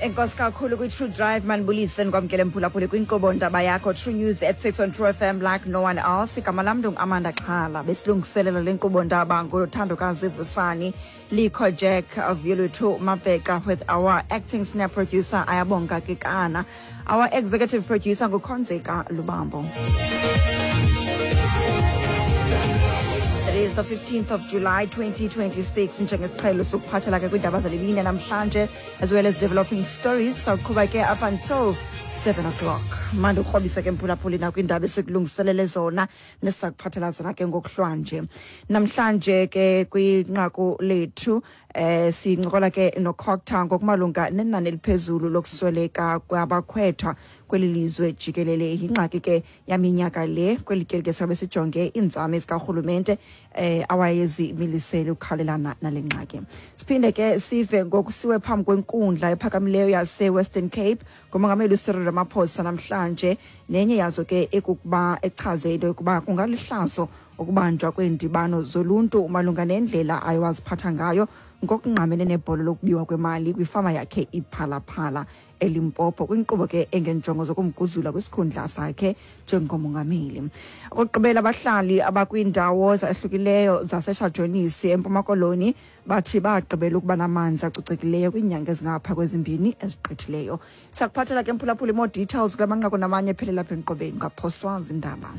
Enkosi kakhulu kwi-True Drive. Manibulise, ndikwamkele mphulaphuli kwinkqubo ndaba yakho, True News at 6 on True FM like no one else. Igama lam ndinguAmanda Xhala. Besilungiselela le nkqubo ndaba nguthandokazi Vusani Likho Jack Vyoluthu Mabheka with our acting senior producer Ayabonga Kikana. Our executive producer nguKhonzeka Lubambo. It is the 15th of July 2026. Njengesiqhelo sokuphathela ke kwiindaba zalemini namhlanje as well as developing stories, sawuqhuba ke up until 7 o'clock. Mandi ukrobise ke mphulaphuli nakwiindaba esikulungiselele zona nesizakuphathela zona ke ngokuhlwanje. Namhlanje ke kwinqaku lethu sincokola ke noCogta ngokumalunga nenani eliphezulu lokusweleka kwabakhwetha kweli lizwe jikelele. Yingxaki ke yaminyaka le. Kweli tyeli ke sabe sijonge iinzame zikarhulumente awayezimilisele ukukhawulelana nale ngxaki. Siphinde ke sive ngokusiwe phambi kwenkundla ephakamileyo yase-Western Cape ngumongameli uCyril Ramaphosa namhlanje, nenye yazo ke ekukuba echaze into yokuba kungalihlazo ukubanjwa kweendibano zoluntu malunga nendlela ayewaziphatha ngayo ngokungqamene nebholo lokubiwa kwemali kwifama yakhe iPhalaphala eLimpopo, kwinkqubo ke engenjongo zokumguzula kwisikhundla sakhe njengomongameli. Okokugqibela, abahlali abakwiindawo zahlukileyo zaseShajonisi eMpuma Koloni bathi bagqibela ukuba namanzi acocekileyo kwiinyanga ezingapha kwezimbini ezigqithileyo. Sakuphathela ke mphulaphuli more details kula manqaku namanye ephelela apha enkqubeni. Ungaphoswa zindaba.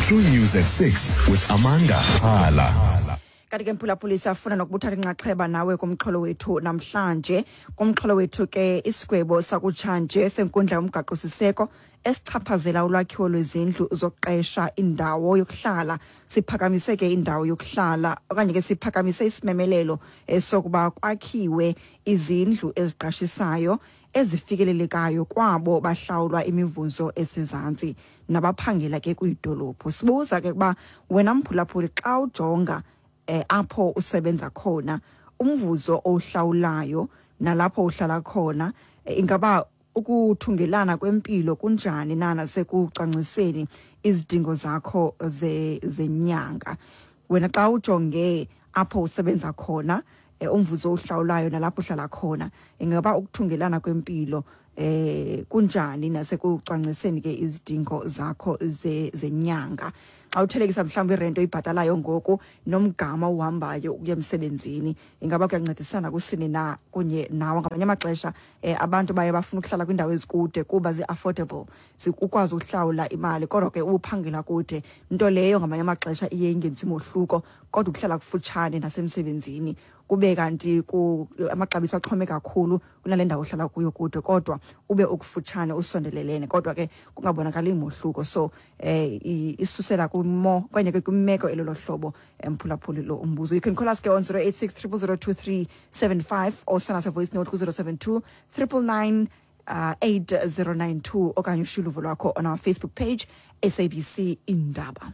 True News at 6 with Amanda Hala. Kanti ke mphulaphuli siyafuna nokubuthatha inxaxheba nawe kumxholo wethu namhlanje. Kumxholo wethu ke, isigwebo sakutshanje senkundla yomgaqo-siseko esichaphazela ulwakhiwo lwezindlu zokuqesha indawo yokuhlala siphakamise ke indawo yokuhlala okanye ke siphakamise isimemelelo sokuba kwakhiwe izindlu eziqashisayo ezifikelelekayo kwabo bahlawulwa imivuzo esezantsi nabaphangela ke kwiidolophu. Sibuza ke ukuba wena mphulaphuli, xa ujonga apho usebenza khona, umvuzo owuhlawulayo nalapho uhlala khona, ingaba ukuthungelana kwempilo kunjani na nasekucwangciseni izidingo zakho zenyanga? Wena xa ujonge apho usebenza khona, umvuzo owuhlawulayo nalapho uhlala khona, ingaba ukuthungelana kwempilo kunjani nasekucwangciseni ke izidingo zakho zenyanga? Xa uthelekisa mhlawumbi irento oyibhatalayo ngoku nomgama uhambayo ukuya emsebenzini, ingaba kuyancedisana kusini na? Kunye nawo ngamanye amaxesha abantu baye bafuna ukuhlala kwiindawo ezikude kuba zi-affordable, ukwazi uhlawula imali, kodwa ke uphangela kude, nto leyo ngamanye amaxesha iye ingenzi mohluko, kodwa ukuhlala kufutshane nasemsebenzini kube kanti amaxabiso axhome kakhulu kunale ndawo uhlala kuyo kude, kodwa ube ukufutshane usondelelene, kodwa ke kungabonakali mohluko. So isusela kwimo okanye ke kwimeko elolo hlobo, emphulaphuli, lo umbuzo. You can call us ke on 086 0002375 or send us a voice note ku-072 999 8092, okanye ushiye uluvo lwakho on our Facebook page, SABC Indaba.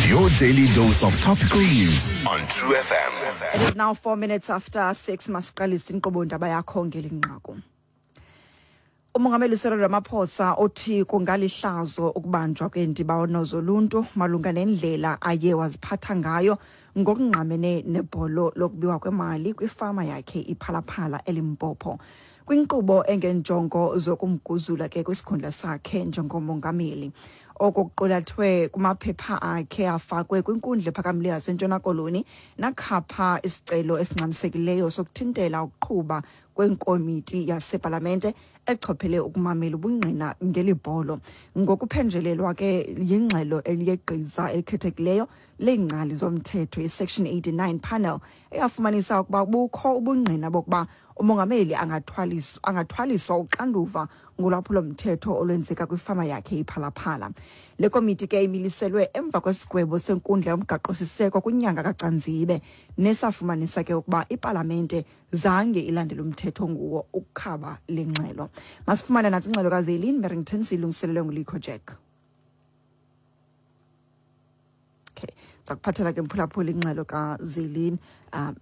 Your daily dose of topical news on True FM. It is now 6:04. Masiqalise inkqubo ndaba yakho ngeli nqaku. Umongameli Cyril Ramaphosa uthi kungalihlazo ukubanjwa kweendibano zoluntu malunga nendlela aye waziphatha ngayo ngokungqamene nebholo lokubiwa kwemali kwifama yakhe iPhalaphala eLimpopo, kwinkqubo engenjongo zokumguzula ke kwisikhundla sakhe njengomongameli. Oko kuqulathwe kumaphepha akhe afakwe kwinkundla ephakamileyo yaseNtshona Koloni nakhapha isicelo esingxamisekileyo sokuthintela ukuqhuba kwenkomiti yasepalamente echophele ukumamela ubungqina ngeli bholo, ngokuphenjelelwa ke yingxelo yegqiza elikhethekileyo leengcali zomthetho, i-Section 89 panel, eyafumanisa ukuba bukho ubungqina bokuba umongameli angathwaliswa uxanduva ngolwaphulo-mthetho olwenzeka kwifama yakhe iPhalaphala. Le komiti ke imiliselwe emva kwesigwebo senkundla yomgaqo-siseko kwinyanga kaCanzibe, nesafumanisa ke ukuba ipalamente zange ilandele umthetho nguwo ukukhaba le ngxelo. Masifumane nantsi ingxelo kaZelin Merrington, siyilungiselelwe nguLikho Jack. Okay, sakuphathela ke mphulaphula ingxelo kaZelin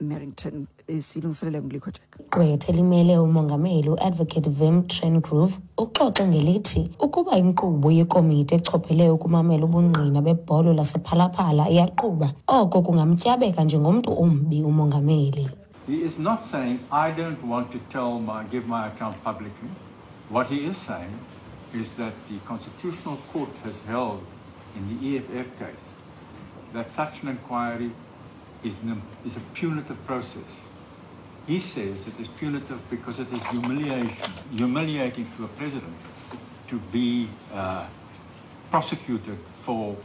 Merrington, siyilungiselele nguLikho Jack. Gqwetha elimele umongameli uadvocate Wim Trengrove uxoxe ngelithi ukuba inkqubo yekomiti echophele ukumamela ubungqina bebholo lasePhalaphala iyaqhuba, oko kungamtyabeka njengomntu ombi umongameli. He is not saying, I don't want to give my account publicly. What he is saying is that the Constitutional Court has held in the EFF case that such an inquiry is a punitive process. He says it is punitive because it is humiliating to a president to be prosecuted for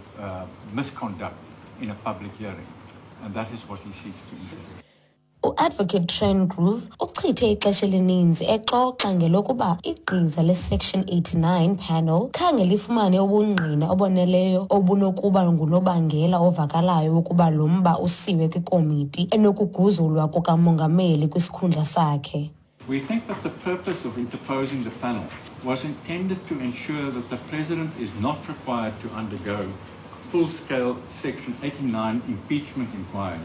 misconduct in a public hearing. And that is what he seeks to introduce. U-Advocate Trengrove uchithe ixesha elininzi exoxa ngelokuba igqiza le-Section 89 panel khange lifumane ubungqina oboneleyo obunokuba ngunobangela ovakalayo wokuba lo mba usiwe kwikomiti enokuguzulwa kukamongameli kwisikhundla sakhe. We think that the purpose of interposing the panel was intended to ensure that the president is not required to undergo full-scale Section 89 impeachment inquiry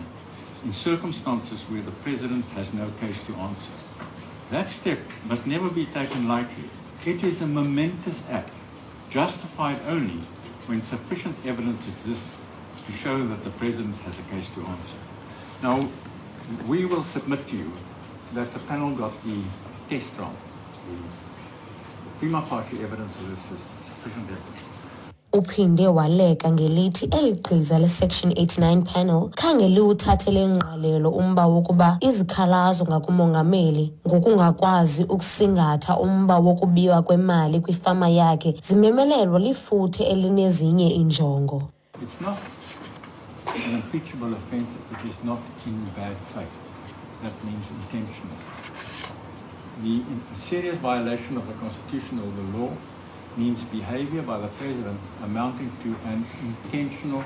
in circumstances where the president has no case to answer. That step must never be taken lightly. It is a momentous act, justified only when sufficient evidence exists to show that the president has a case to answer. Now, we will submit to you that the panel got the test wrong. The prima facie evidence of this is sufficient evidence. Uphinde waleka ngelithi eli gqiza le-Section 89 panel khange liwuthathele ngqalelo umba wokuba izikhalazo ngakumongameli ngokungakwazi ukusingatha umba wokubiwa kwemali kwifama yakhe zimemelelwa lifuthe elinezinye iinjongo. It's not an impeachable offense if it is not in bad faith. That means intentional. The serious violation of the Constitution or the law means behavior by the president amounting to an intentional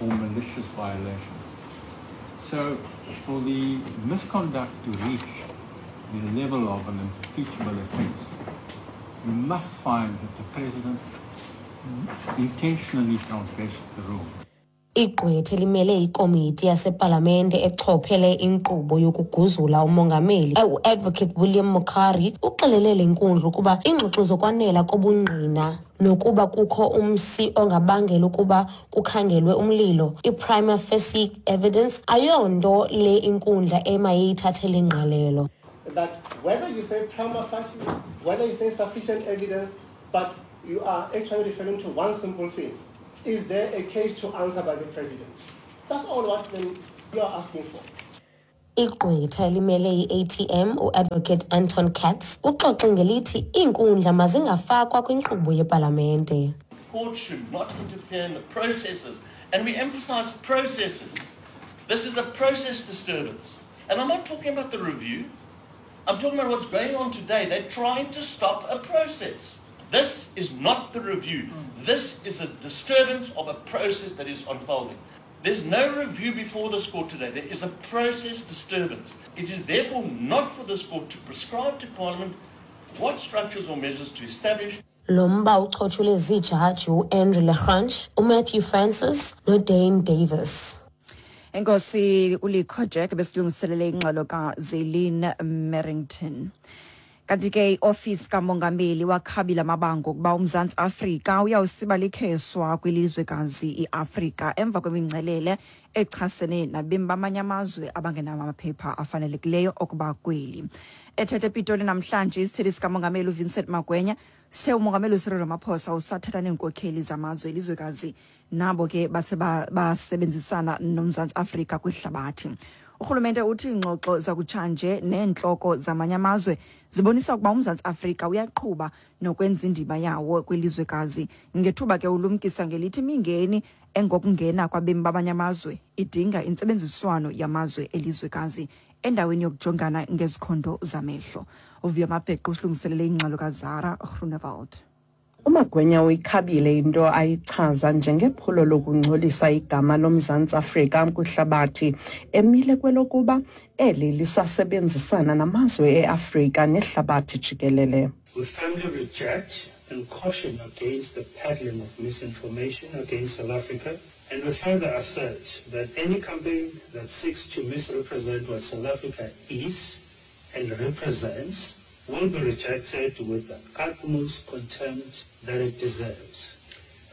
or malicious violation. So for the misconduct to reach the level of an impeachable offense, you must find that the president intentionally transgressed the rule. Igqwetha elimele ikomiti yasepalamente echophele inkqubo yokuguzula umongameli u-Advocate William Mukhari uxelele le nkundla ukuba iingxoxo zokwanela kobungqina nokuba kukho umsi ongabangela ukuba kukhangelwe umlilo, i-prima facie evidence, ayonto le inkundla emayiyithathele ingqalelo. That whether you say prima facie, whether you say sufficient evidence, but you are actually referring to one simple thing. Is there a case to answer by the president? That's all what then you are asking for. Igqwetha elimele i-ATM u-Advocate Anton Katz uxoxe ngelithi iinkundla mazingafakwa kwinkqubo yepalamente. Court should not interfere in the processes, and we emphasize processes. This is a process disturbance. And I'm not talking about the review. I'm talking about what's going on today. They're trying to stop a process. This is not the review. This is a disturbance of a process that is unfolding. There's no review before this court today. There is a process disturbance. It is therefore not for this court to prescribe to Parliament what structures or measures to establish. Lo mba uchotshulwe ziijaji uAndrew Le Grange, uMatthew Francis noDane Davis. Enkosi uLikho Jack besilungiselele ingxelo kaZelin Merrington. Kanti ke iofisi kamongameli wakhabila amabango ukuba uMzantsi Afrika uyawusiba likheswa kwilizwekazi iAfrika emva kwemingcelele echasene nabemi bamanye amazwe abangenamaphepha afanelekileyo okuba kweli. Ethethe ePitoli namhlanje isithethi sikamongameli uVincent Magwenya sithe umongameli uCyril Ramaphosa usathetha neenkokheli zamazwe elizwekazi nabo ke bathe basebenzisana noMzantsi Afrika kwihlabathi. Urhulumente uthi iingxoxo zakutshanje neentloko zamanye amazwe zibonisa ukuba uMzantsi Afrika uyaqhuba nokwenza indima yawo kwilizwekazi. Ngethuba ke ulumkisa ngelithi imingeni engokungena kwabemi bamanye amazwe idinga intsebenziswano yamazwe elizwekazi endaweni yokujongana ngezikhondo zamehlo. Uvuyo Mabheqo usilungiselele ingxelo kaZara Groenewald. UMagwenya uyikhabile into ayichaza njengephulo lokungcolisa igama loMzantsi Afrika kwihlabathi, emile kwelokuba eli lisasebenzisana namazwe eAfrika nehlabathi jikelele. We firmly reject and caution against the peddling of misinformation against South Africa, and we further assert that any campaign that seeks to misrepresent what South Africa is and represents will be rejected with the utmost contempt that it deserves.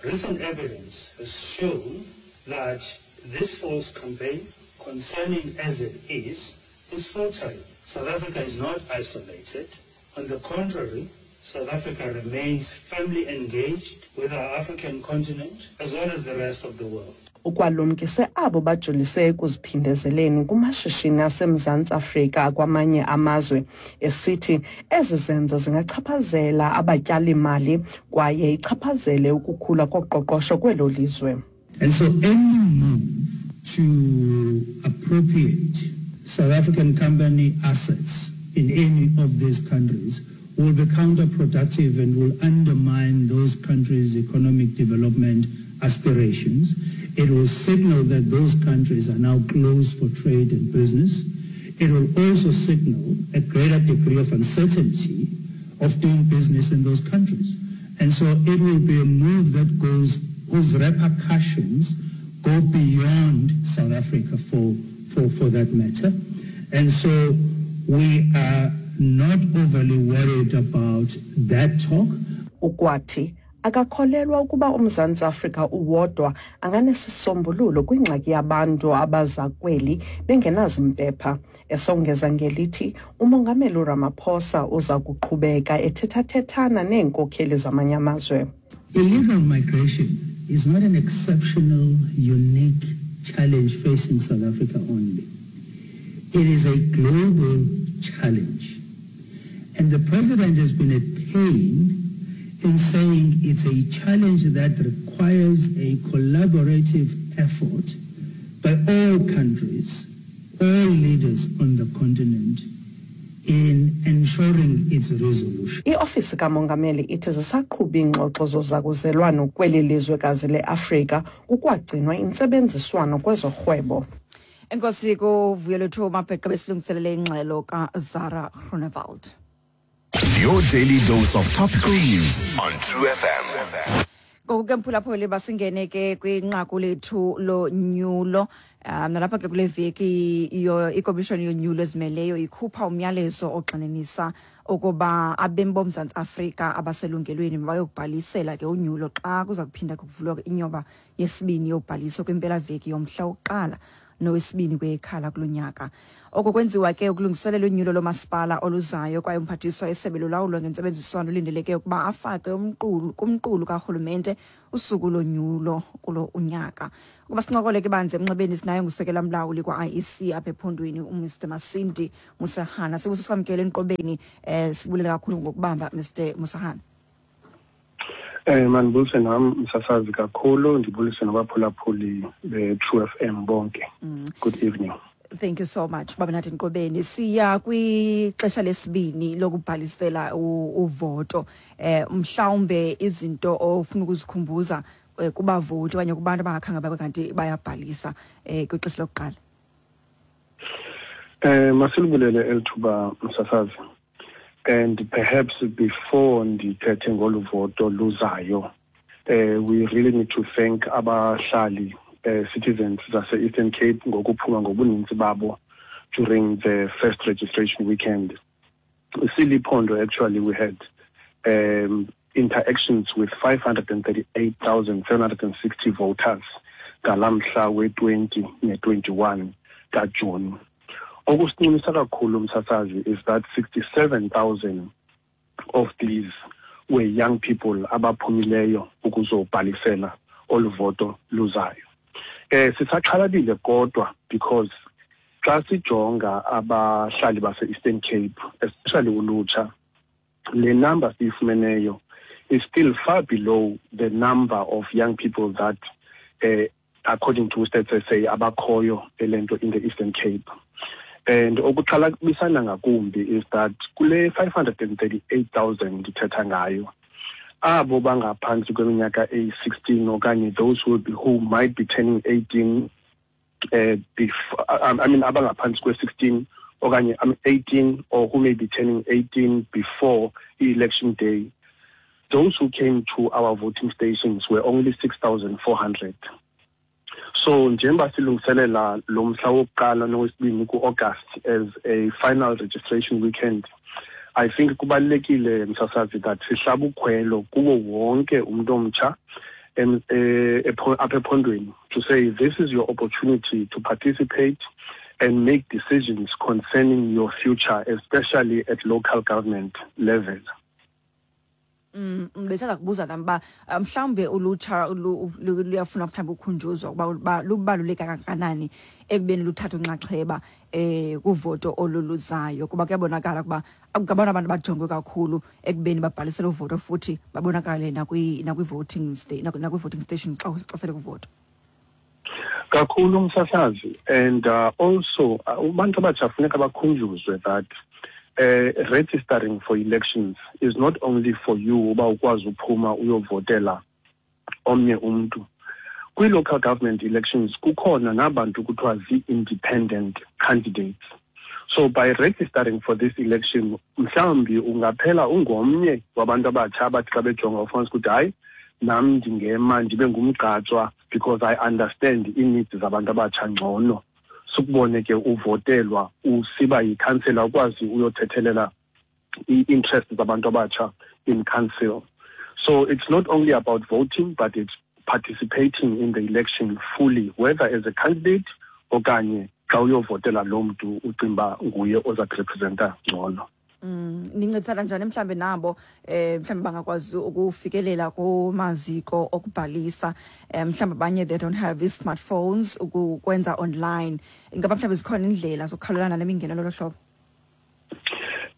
Recent evidence has shown that this false campaign, concerning as it is is faltering. South Africa is not isolated. On the contrary, South Africa remains firmly engaged with our African continent as well as the rest of the world. Ukwalumkise abo bajolise ekuziphindezeleni kumashishini aseMzantsi Afrika kwamanye amazwe, esithi ezi zenzo zingachaphazela abatyali-mali kwaye ichaphazele ukukhula koqoqosho kwelo lizwe. And so any move to appropriate South African company assets in any of these countries will be counterproductive and will undermine those countries' economic development aspirations. It will signal that those countries are now closed for trade and business. It will also signal a greater degree of uncertainty of doing business in those countries. And so it will be a move that goes, whose repercussions go beyond South Africa for that matter. And so we are not overly worried about that talk. Ukwathi akakholelwa ukuba uMzantsi Afrika uwodwa anganesisombululo kwingxaki yabantu abaza kweli bengenazimpepha, esongeza ngelithi uMongameli uRamaphosa uza kuqhubeka ethethathethana neenkokheli zamanye amazwe. Illegal migration is not an exceptional, unique challenge facing South Africa only. It is a global challenge. And the president has been at pain in saying it's a challenge that requires a collaborative effort by all countries, all leaders on the continent, in ensuring its resolution. Iofisi kaMongameli ithi zisaqhuba iingxoxo zozakuzelwano kweli lizwekazi leAfrika, kukwagcinwa intsebenziswano kwezorhwebo. Enkosi kuVuyolethu Mabheqe besilungiselele ingxelo kaZara Groenewald. Your daily dose of topical news on True FM. Ngoku ke, mphulaphuli, basingene ke kwinqaku lethu lonyulo. Nalapha ke kule veki ikomishoni yonyulo ezimeleyo ikhupha umyalezo ogxininisa ukuba abemi boMzantsi Afrika abaselungelweni bayokubhalisela ke unyulo xa kuza kuphinda kuvulwa inyoba yesibini yobhaliso kwimpelaveki yomhla wokuqala nowesibini kweyeKhala kulo nyaka. Oko kwenziwa ke ukulungiselela unyulo lomasipala oluzayo, kwaye umphathiswa esebe lolawulo ngentsebenziswano ulindeleke ukuba afake umqulu kumqulu karhulumente usuku lonyulo kulo unyaka. Ukuba sincokole ke banzi emnxebeni, sinaye ngusekela mlawuli kwa-IEC apha ephondweni, uMr Masindi Musahana. Sikusisamkele enkqubeni, sibulela kakhulu ngokubamba, Mr Musahana. Mandibulise nam, msasazi, kakhulu, ndibulise nabaphulaphuli be-True FM bonke. Good evening. Thank you so much, baba nathi Nqobeni. Siya kwixesha lesibini lokubhalisela uvoto. Mhlawumbe izinto ofuna ukuzikhumbuza kubavoti okanye kubantu abangakhange babe kanti bayabhalisa kwixesha lokuqala. Masilibulele elithuba, msasazi. And perhaps before ndithethe ngolu voto luzayo, we really need to thank abahlali, citizens zase-Eastern Cape, ngokuphuma ngobuninzi babo during the first registration weekend. Siliphondo, actually, we had interactions with 538,760 voters ngalamhla we-20 ne-21 kaJuni. Okusincumisa kakhulu, msasazi, is that 67,000 of these were young people abaphumileyo ukuzobhalisela olu voto luzayo. Sisaxhalabile kodwa, because xa sijonga abahlali base-Eastern Cape, especially ulutsha, le number siyifumeneyo is still far below the number of young people that, according to Stats SA, abakhoyo elento in the Eastern Cape. And okuxhalabisana ngakumbi is that kule 538,000 ndithetha ngayo, abo bangaphantsi kweminyaka eyi-16 okanye those who might be turning 18, before, I mean, abangaphantsi kwe-16 okanye, I mean, 18 or who may be turning 18 before election day, those who came to our voting stations were only 6,400. So njengoba silungiselela lo mhla wokuqala nowesibini ku-August as a final registration weekend, I think kubalulekile, msasazi, that sihlaba ukhwelo kuwo wonke umuntu omtsha apha ephondweni to say this is your opportunity to participate. and make decisions concerning your future, especially at local government level. Bethanda kubuza nam uba mhlawumbe ulutsha luyafuna mhlawumbi ukhunjuzwa ukuba lubaluleka kangakanani ekubeni luthathe unxaxheba kuvoto oluluzayo, kuba kuyabonakala ukuba ngabona abantu bajongwe kakhulu ekubeni babhalisele uvoto futhi babonakale nakwi-voting station xa sele kuvoto. Kakhulu, umsasazi, and also abantu abatsha funeka bakhunjuzwe that registering for elections is not only for you uba ukwazi uphuma uyovotela omnye umntu. Kwi-local government elections kukhona nabantu kuthiwa zii-independent candidates. So by registering for this election, mhlawumbi ungaphela ungomnye wabantu abatsha abathi xa bejonga ufumanisa ukuthi hayi, nam ndingema ndibe ngumgqatswa because I understand ii-needs zabantu abatsha ngcono. Sukubone ke uvotelwa usiba yikhansela, ukwazi uyothethelela ii-interests zabantu abatsha in council. So it's not only about voting, but it's participating in the election fully, whether as a candidate okanye xa uyovotela lo mntu ucinga nguye oza kurepresenta ngcono. Nincedisana njani mhlambe nabo mhlambe bangakwazi ukufikelela kumaziko okubhalisa, mhlambe abanye they don't have i-smartphones ukwenza online? Ingaba mhlambe zikhona indlela zokukhawulelana nemingeno lolo hlobo?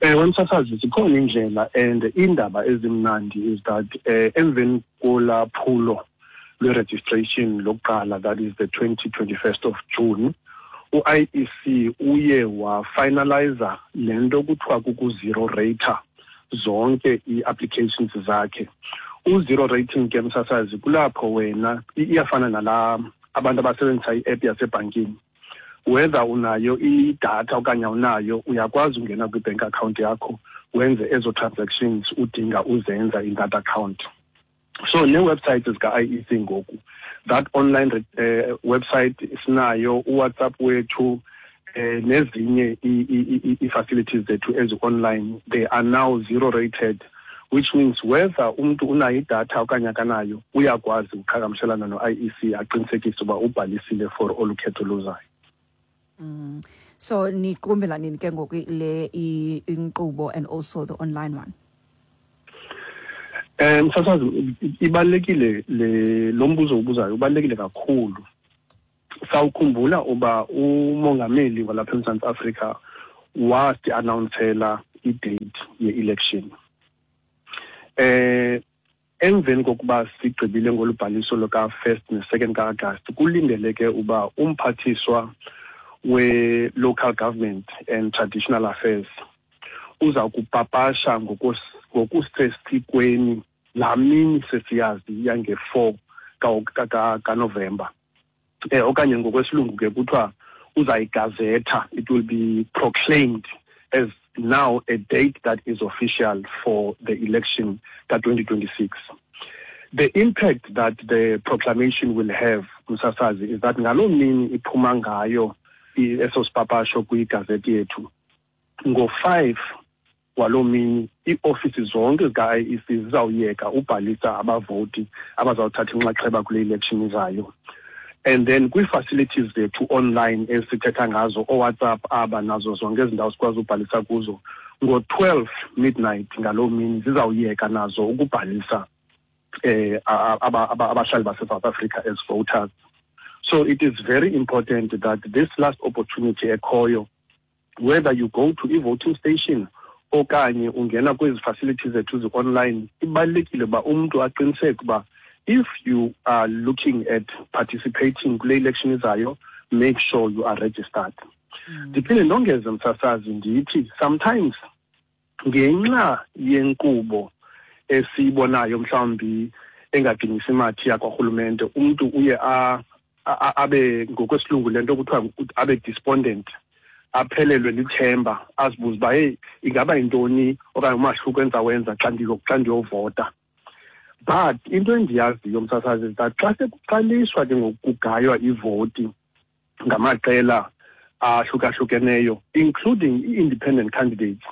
Ewe, msasazi, zikhona indlela, and iindaba ezimnandi is that emveni kolaa phulo lwe-registration lokuqala, that is the 20 21st of June, u-IEC uye wafinaliza le nto kuthiwa kuku-zero rater zonke ii-applications zakhe. U-zero rating ke, msasazi, kulapho wena iyafana nalaa abantu abasebenzisa i-app yasebhankini. Whether unayo idatha okanye awunayo, uyakwazi ungena kwi-bank account yakho wenze ezo transactions udinga uzenza in that account. So nee-websites zika-IEC ngoku, that online website sinayo, uWhatsApp wethu, nezinye ii-facilities zethu ezi-online, they are now zero rated, which means whether umntu unayo idatha okanye akanayo, uyakwazi uqhagamshelana no-IEC aqinisekise uba ubhalisile for olu khetho luzayo. So niqukumbela nini ke ngoku le inkqubo and also the online one? Msasazi, ibalulekile le lo mbuzo ubuzayo, ubalulekile kakhulu. Sawukhumbula uba umongameli walapha eMzantsi Afrika wasi-announcela i-date ye-election. Emveni kokuba sigqibile ngolubhaliso luka-1st ne-2nd ka-Agasti, kulindeleke uba umphathiswa we-local government and traditional affairs uza kupapasha ngokusesikweni laa mini sesiyazi yange-4 kaNovemba, okanye ngokwesilungu ke kuthiwa uzayigazetha, it will be proclaimed as now a date that is official for the election ka-2026. The impact that the proclamation will have, msasazi, is that ngaloo mini iphuma ngayo eso sipapasho kwigazethi yethu, ngo-5 waloo mini iiofisi zonke zika-IEC zizawuyeka ubhalisa abavoti abazawuthatha inxaxheba kule election izayo. And then kwii-facilities zethu online esithetha ngazo, ooWhatsApp aba nazo zonke ezi ndawo sikwazi ubhalisa kuzo, ngo-12 midnight ngaloo mini zizawuyeka nazo ukubhalisa abahlali base-South Africa as voters. So it is very important that this last opportunity ekhoyo, whether you go to i-voting station okanye ungena kwezi facilities zethu zi-online, ibalulekile uba umntu aqiniseke uba if you are looking at participating kule election izayo, make sure you are registered. Ndiphinde ndongeze, msasazi, ndithi sometimes ngenxa yenkqubo esiyibonayo mhlawumbi engaginyisi mathi yakwarhulumente, umntu uye abe ngokwesilungu le nto kuthiwa abe despondent, aphelelwe lithemba, azibuze uba heyi, ingaba yintoni okanye umahluko endizawenza xa ndiyovota. But into endiyaziyo, msasazi, is that xa sekuqaliswa ke ngoku kugaywa ivoti ngamaqela ahlukahlukeneyo, including i-independent candidates,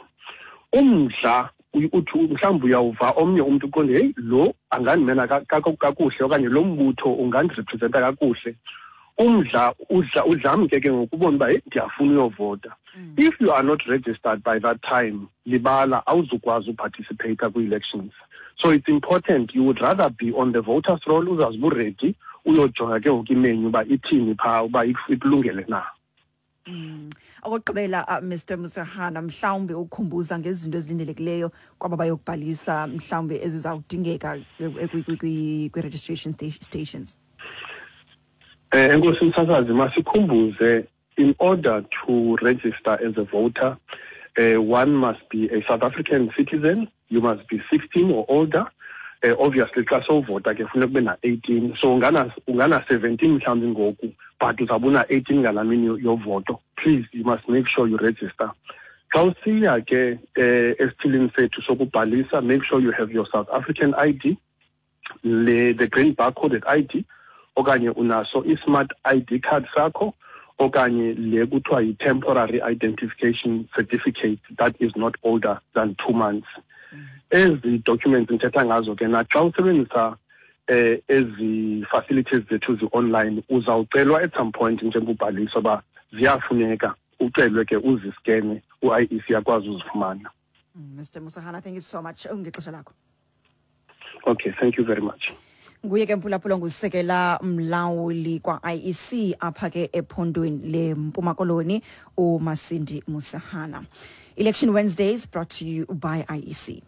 umdla uthi mhlawumbi uyawuva omnye umntu uqonde, heyi, lo angandimela kakuhle okanye lo mbutho ungandirepresenta kakuhle. Umdla udla udlamke ke ngokubona uba, hey, ndiyafuna uyovota. If you are not registered by that time, libala, awuzukwazi uparticipate kwi-elections. So it's important, you would rather be on the voters roll, uzazi uba uready, uyojonga ke ngoku imenyu uba ithini phaa, uba ikulungele na. Okokugqibela, Mr Musahana, mhlawumbi ukhumbuza ngezinto ezilindelekileyo kwaba bayokubhalisa, mhlawumbi ezizawudingeka kwi-registration stations. Enkosi msasazi, masikhumbuze, in order to register as a voter, one must be a South African citizen, you must be 16 or older. Obviously xa sowuvota ke funeka ube na-18, so ungana 17 mhlawumbi ngoku, but uzawube una-18 ngalaa mini yovoto. Please, you must make sure you register. Xa usiya ke esithilini sethu sokubhalisa, make sure you have your South African ID, le the green barcoded ID, okanye unaso i-smart ID card sakho, okanye le kuthiwa yi-temporary identification certificate that is not older than 2 months. Ezi documents ndithetha ngazo ke, naxa usebenzisa ezi facilities zethu zi-online, uzawucelwa at some point njengobhaliswa uba ziyafuneka, ucelwe ke uziskene, u-IEC yakwazi uzifumana. Mr Musahana, thank you so much ngexesha lakho. Okay, thank you very much. Nguye ke mphulaphula, ngusekela mlawuli kwa-IEC apha ke ephondweni leMpuma Koloni, uMasindi Musahana. Election Wednesdays brought to you by IEC.